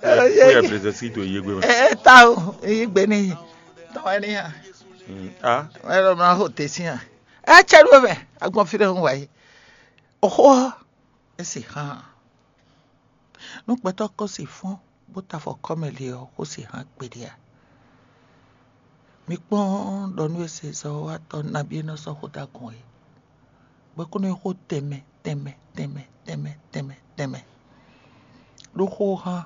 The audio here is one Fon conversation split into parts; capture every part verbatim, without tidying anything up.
Ó yɛ brezɛsi to yé gbé mɛ. Ɛ ta o, yí gbé ní tɔn wɛ ní hàn. Mm, ah. Ɛ lɔ mla xo te sín hàn. Ɛ cɛ ɖu mɛ, agbɔn fi ɖe ń wa yé. Oxó ɔ́, é sì hàn. Nú gbɛtɔ́ kɔ́ sì fɔ́n bó ta afɔ kɔ́ mɛ le ɔ́, xó sì hàn kpeɖé ǎ. Mi kpɔ́n ɖɔ nú e se zɔ́watɔ́ nabí e nɔ sɔ́ xó dó agɔn é. Bɔ é kó nɔ nyí xó tɛnmɛ tɛnmɛ tɛnmɛ tɛnmɛ tɛnmɛ tɛnmɛ. Ɖó xó hán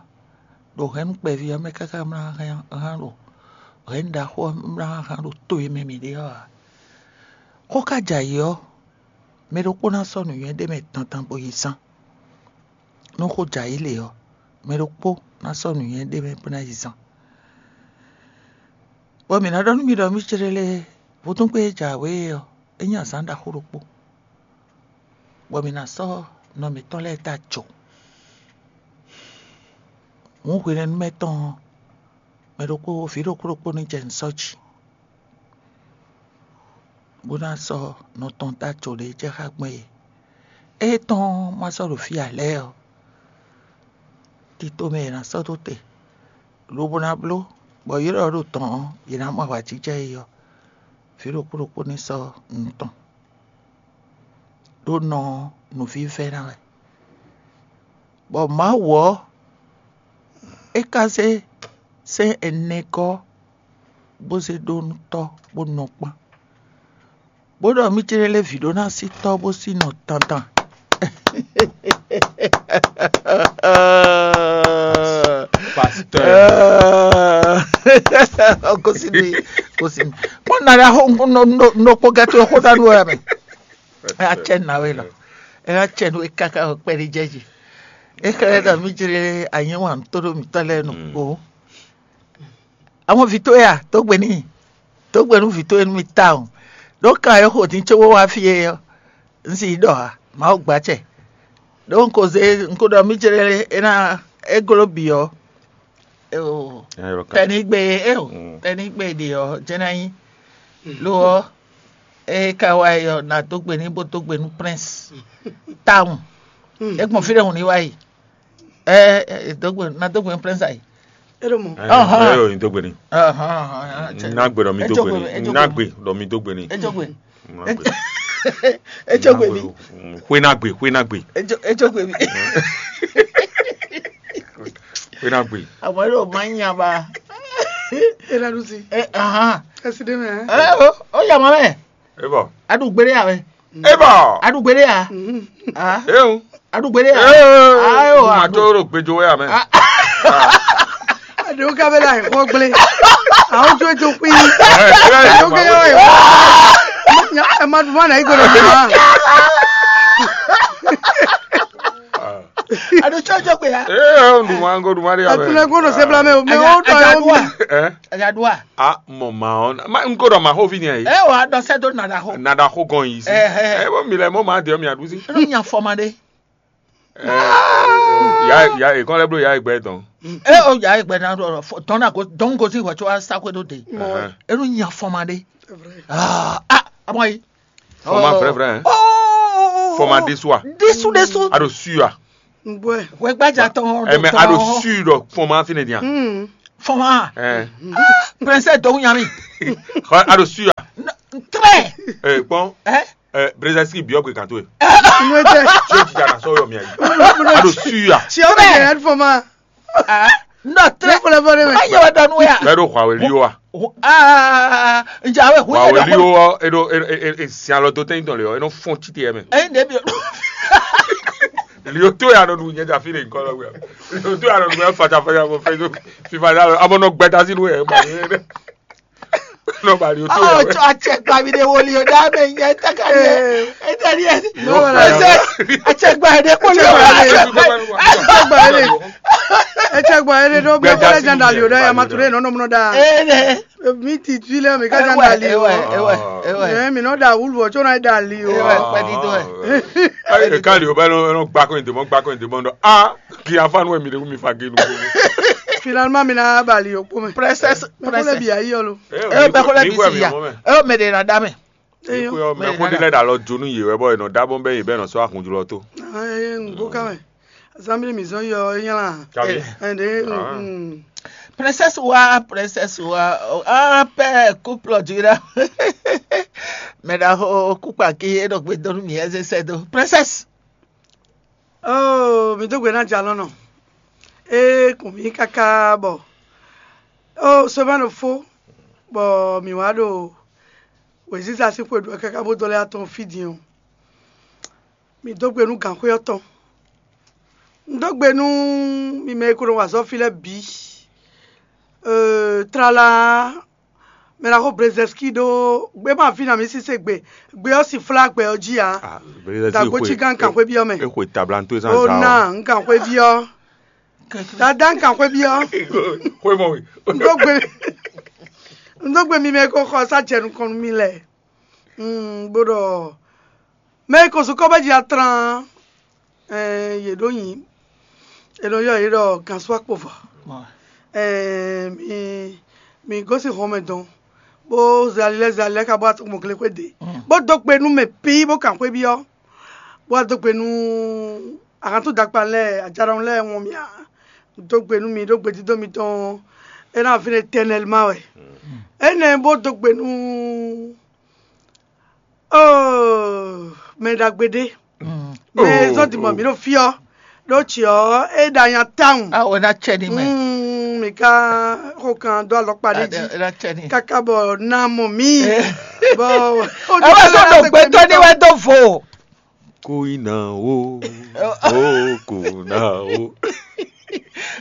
ɖo hɛ̌nnu kpɛví ɔ́ mɛ káká mlá hán ɖo hɛ̌nnu ɖaxó ɔ́ mlá hán ɖo to e mɛ mǐ ɖe ɔ́ ǎ. Xó ka jɛ ayǐ ɔ́, mɛ ɖokpó ná sɔ́ nǔnywɛ́ ɖé mɛ dandan bó yi zán. Nú xó jɛ ayǐ lě ɔ́, mɛ ɖokpó ná sɔ́ nǔnywɛ́ ɖé mɛ bó ná yi zán. Bɔ mǐ ná ɖɔ nú mi ɖɔ mì céɖélé vodúngbe e jɛ awě é ɔ́, é nyí azǎn ɖaxó ɖokpó, bɔ mǐ ná sɔ́ nɔ mǐtɔn lɛ́ɛ dó ajo. Hǔn hwenɛ́nu mɛ tɔn ɔ́, mɛ ɖokpó vǐ ɖokpó ɖokpó ní jɛ nǔ sɔ́ jí, bó ná sɔ́ nɔ tɔn dó ajo ɖě jɛ xá gbɔn é. Ée tɔn ma sɔ́ ɖo fí ǎ lɛ́ɛ ɔ́, tito mɛ è nǎ sɔ́ dó te, lobo ná bló, bɔ yě ɖɔ ɖo tɔn ɔ́, yě ná mɔ awǎjijɛ é ɔ́, vǐ ɖokpó ɖokpó ní sɔ́ nǔ tɔn, ɖó nɔ ɔ́, nǔvívɛ́ ná wɛ. Bɔ Mawu ɔ́, é ka zé sɛ́n ɛnɛ gɔ́ bó zé ɖó nú tɔ́ bó nɔ kpán, bó ɖɔ mì céɖélé vǐ ɖó ná sí tɔ́ bó sí nɔ dandan. Pasteur. Kó sí mi, kó sí mi. Kpɔ́n nana xó nɔ kpɔ́n gɛ́ tó xó ná nú ɛ mɛ. Ɛ acɛ nǎwe lɔ, ɛ acɛ nú káká kpɛɖé jɛ jí. É xlɛ́ ɖɔ mì jlé anyɛ́wan tó ɖo mǐtɔn lɛ́ɛ nukpó. Àwọn vǐ towe a, dǒ gbe n'i, dǒ gbe nú vǐ towe nú mì tawun. Ɖó kan e xo din cóbó wá fí é ɔ́, un sì yi ɖɔ ǎ, Mawu gbacɛ. Ɖó un ko zé un ko ɖɔ mì jlé é ná é gló bǐ ɔ́, tɛnigbe é o, tɛnigbe ɖě ɔ́ jɛ́n ná nyí. Lo ɔ́, é ka wá yi ɔ́, nǎ dó gbe n'i bó dó gbe nú Prince tawun. É gbɔn fí ɖé hǔn ní wá yi. Ɛ ɛ dó gbe nǎ dó gbe nú Prince ayi. É ɖo mɔ. Ɔhɔn. Ɛ yɔ nyi dó gbe ni. Ɔhɔn. Ná gbe ɖɔ mi dó gbe ni. Ná gbe ɖɔ mi dó gbe ni. É dó gbe. É dó gbe mi. Xwé ná gbe, xwé ná gbe. É dó gbe mi. Xwé ná gbe. Àmọ́ yóò máa ń yan ba. É ná dún sí. Ẹ hàn. Ẹ sì dé mẹ́. Ẹ ó yà mọ́ mẹ́. É bọ̀. Adùgbélé yà mẹ́. É bọ̀. Adùgbélé yà. É o. Adùgbélé yà. Ee, Ayo, mo ma adu. Tó rò gbẹjọ wẹ́ àmẹ́. Àdéhùn kábẹ́lá ẹ̀kọ́ gblé. Àwọn ojú ètò pín. Àdéhùn kẹ́lẹ́ wọ̀ ẹ̀kọ́. Ẹ má dùn mọ́ àná ìgbọ̀dọ̀ dùn mọ́. Adu tsɔ jɔ gbe ya. Ee, ndùnmọ́ ŋgó ndùnmọ́ rí àmẹ́. Àtúnlẹ̀ gbọ́dọ̀ ṣe blamẹ́ o. Mẹ o tọ́ yọ mi. Ẹ́ Ẹ̀yàdúrà. A mọ̀ màá ọ́n. Má ŋgó dọ̀ màá hó vi ni ẹ̀ yìí. Ẹ wà á dọ̀ sẹ́dọ̀ nàdà hó. Nàdà hó gan yìí sí. Ẹ, ẹ. Ẹ bó mi lẹ mọ́ màá dé ọ́ mi àdúsí. Inú yàn fọmọdé. Ẹ ya ya ìkọ́lẹ́ bló ya ìgbẹ́ tán. Ẹ o yà ìgbẹ́ náà dọ̀ tọ́nà kò dọ́n kò sí ìwà tí wàá sáko tó dé. Inú yàn fọmọdé. Ah, ah, àmọ́ yìí. Fọmọ frère frère. Hein? Oh, Fọmọ adé sua. Désu désu. Ado sua. Ngbọ́ ẹ̀. Wẹ́gbájà tán. Ẹ mẹ ado sui dɔ fọmọ afi ne diyan. Fọmọ. Ẹ Prince Dɔwunyami. Ado sua. Très. Ẹ kpɔn. Ẹ. Ẹ brezasi bi ɔgbe kan to ye. Inú ẹ tẹ. Tí o ti jara sɔyɔ mi ayi. Ado sua. Tí o bẹ yẹn fọ ma. Ah, non, très. Fọlẹ fọlẹ mẹ. Ayi wa dɔnu ya. Bɛɛ do Huawei li o wa. Ah, njawe hu. Huawei li o wa e do e e e si alɔ do tɛyin tɔn le ɔ e nɔ fɔn titi yɛ mɛ. Ẹyin de bi. Li o to ya nɔ du nyɛ dza fi le nkɔ lɔ wɛ. Li o to ya nɔ du yɛ fata fata fɔ fɛ do fifa da lɔ amɔ nɔ gbɛta si nu yɛ ma yɛ dɛ. Nɔ ba li o to Oh, yɛ. tsɔ atsɛgba mi de woli o da mɛ nyɛ tɛka ni yɛ. Eta ni yɛ. Wala. Atsɛgba de ko le. Ẹ tẹ gbà ẹ lè dọ́ bí ẹ kọ́lẹ́ jan dàlí o dá yà má ture nọ́nọ́ múná dá. Ee ne. Mi ti fi lẹ́ mi ká jan dàlí o. Ewa ewa ewa. Ẹ mi nọ́ da wúlù ọ̀ tí ó náà dàlí o. Ewa pẹdi tó ẹ. Ayi le kali o bɛ nɔ gbakɔ in demɔ gbakɔ in demɔ dɔ a kì í afa nu mi de mi fa gelu. Finalement mi náà bàlí o kpó mẹ. Princess Mẹ kó lè princess. bì ayé ọ lo. Ẹ bẹ kó lè bi si ya. Ẹ mẹ de na da mẹ. Eyọ. Mɛ ko de lɛ da lɔ jonu yewɛ bɔ enɔ dabɔ bɛ yi bɛ nɔ sɔ ahunjulɔ to. Ẹ ń gbó ká mẹ. Azánbílí mǐ zɔn yɔ é nylá. Kabi. Ɛnde Ah. mm, Princesse wa, princesse wa, oh, ah, père, couple du là. Mais là, oh, couple qui est donc, me donne mi, c'est, c'est, donc, princesse. oh, mǐ dó gbe ná jalɔ́nɔ. É kùn mí káká bɔ oh, semaine fó bɔ mǐ wá ɖo wěziza sín xwe ɖu wɛ káká bó dó lɛ́ atɔn fí din ɔ́. Mǐ dó gbe nú gǎnxwé ɔ́ tɔn. Un dó gbe nú mi mɛ e ko nɔ wa azɔ̌ fí lɛ́ɛ bǐ. Euh, tlala mɛ ná xo Brezɛski ɖó gbé ma fí na mǐ sísé gbe. Gbe ɔ́ si flá gbɛ ɔ́ jí ǎ. Dagbo cí gán kan xwé byɔ́ mɛ. Exwe tablanto Ó zan za ná un kan xwé byɔ́. Dada un kan xwé byɔ́. Xwé mɔ wi. Un dó gbe un dó gbe mi mɛ e ko xɔ sá jɛ nukɔn nú mi lɛ. Mm, bó ɖɔ mɛ e ko sukɔ bɛ jí atlán. Ɛɛ, yě ɖó nyi è nɔ yɔ yě ɖɔ gǎnsúakpovɔ. Ɛɛ, mi mi gosín xɔmɛ dɔn bó zali lɛ́ zali lɛ́ ká bó atɔ́ mɔgléxwé dě bó dó gbe nú mɛ pí bó kan xwé byɔ́ bó wá dó gbe nú ahantú dakpa lɛ́ɛ ajaɖɔn lɛ́ɛ wɔn mì a dó gbe nú mi ɖó gbedídó mitɔn é ná fínɛ́ étɛnɛlma wɛ énɛ́ bó dó gbe nú oh, mɛ ɖagbe ɖé mɛ zɔ́n dimɔ mǐ ɖo fí ɔ́ ɖó tsi ɔ́ é ɖa nya tawun. Ah, on a cɛ ni mɛ. Mm, mi ka xo kan dó alɔkpa ɖé jí On a cɛ ni. Kaka bɔ na mɔ mí bɔ Ewe so ɖo gbɛtɔ ni wɛ do vo. Kó iná o, ó kó ná o.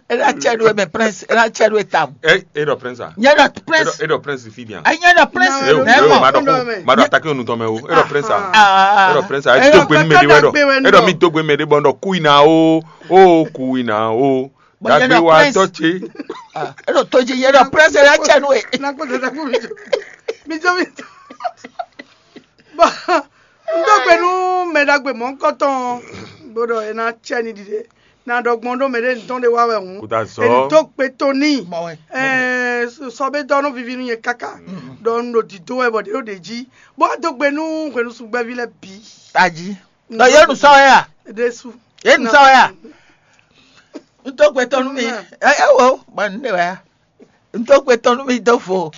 Ena cɛ nu mɛ prince, ena cɛ nu tam. Ɛ e ɖɔ prince a? Nye ɖɔ prince. E ɖɔ prince fi dian. Enye ɖɔ prince. Na- E o Ne e o mɔ. ma ɖɔ Prince. ko ma ɖɔ atake onu tɔn mɛ o. E ɖɔ prince a? Ah, E ɖɔ prince a. E do gbe nu mɛ de wɛ ɖɔ. E ɖɔ mi do gbe mɛ de bɔ ɖɔ kú iná o, ó kú iná o. Bɔ nye Dagbe ɖɔ wa prince. tɔ tse. Ah, e ɖɔ to dzi nye ɖɔ prince ena cɛ nu e. Na kpɔtɔ ta kpɔ mi jɔ mi jɔ mi jɔ. Bɔn n dó gbe nú mɛ ɖagbe mɔ̌hunkɔtɔn bó ɖɔ é ná cɛ ni ɖiɖe na ɖɔ gbɔn ɖó mɛ ɖé ntɔn ɖé wá wɛ hǔn. Kò dá zɔ. Èyí tó gbe tó ní. Mɔ wɛ. Ɛɛ sɔ bɛ dɔ nɔ vivi nú nyɛ kaka ɖɔ n ɖo dǐdó wɛ bɔ ɖě ɖo ɖě jí bó wá dó gbe nú hwenu sugbɛvi lɛ bǐ. Taji. Nɔ ye nu sɔ ya. Ɖésú. Ye nu sɔ ya. N tó gbe tɔnu mi. Ɛ ɛ wo, ma n de wɛ ya. N tó gbe tɔnu mi do fo.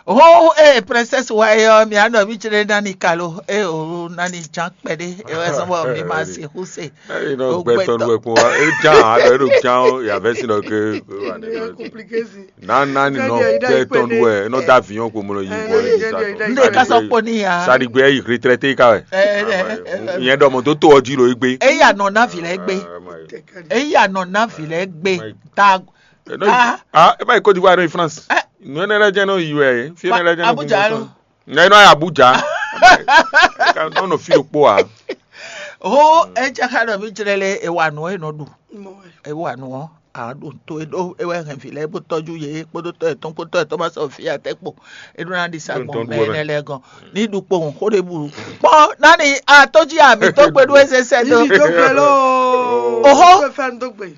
Ho e princesse wa ye ɔ mi anɔ mi tsere nani kalo e o nani jan kpɛɖe e wɛ sɔn bɔ mi ma si hu se. Eyi nɔ gbɛ tɔnu wɛ kpɔn wa. E jan a ɖɔ e ɖo jan o yavɛ si nɔ ke. Compliqué si. Nana ni nɔ gbɛ tɔnu wɛ e nɔ da avion ko mo nɔ yi bɔ e N de ka sɔ kpɔ ni ya. Saɖigbɛ yi retraité ka wɛ. Ɛ ɛ. Nyɛ ɖɔ mɔ dó tó ɔjí lo egbe. Eya nɔ na vi lɛ gbe. Eya nɔ na vi lɛ gbe. Ta Ah, e ma yi Côte d'Ivoire e nɔ yi France. Nu énɛ́ lɛ́ɛ jɛ́n nɔ yi wɛ e. Fi énɛ́ lɛ́ɛ jɛ́n nɔ Abuja lo. Nɛ nɔ yi Abuja. Nɔ nɔ fi ɖokpó a. Ho e jɛ xa ɖɔ mi jlɛ lɛ e wa nɔ e nɔ ɖu. Mɔ wɛ. E wa nɔ a ɖo to e ɖo e wɛ hɛn vi lɛ bó tɔjú ye kpódó tɔ etɔn kpódó tɔ etɔn ma sɔ fi atɛ kpo e ɖo na ɖi sa gbɔn mɛ ne lɛ gɔn ni ɖu kpo xó ɖe bu kpɔ nani a tɔjú ami tó gbeɖu eze sɛ do. Yìí tó gbẹ lọ. Oho. Tó fẹ́ tó gbẹ.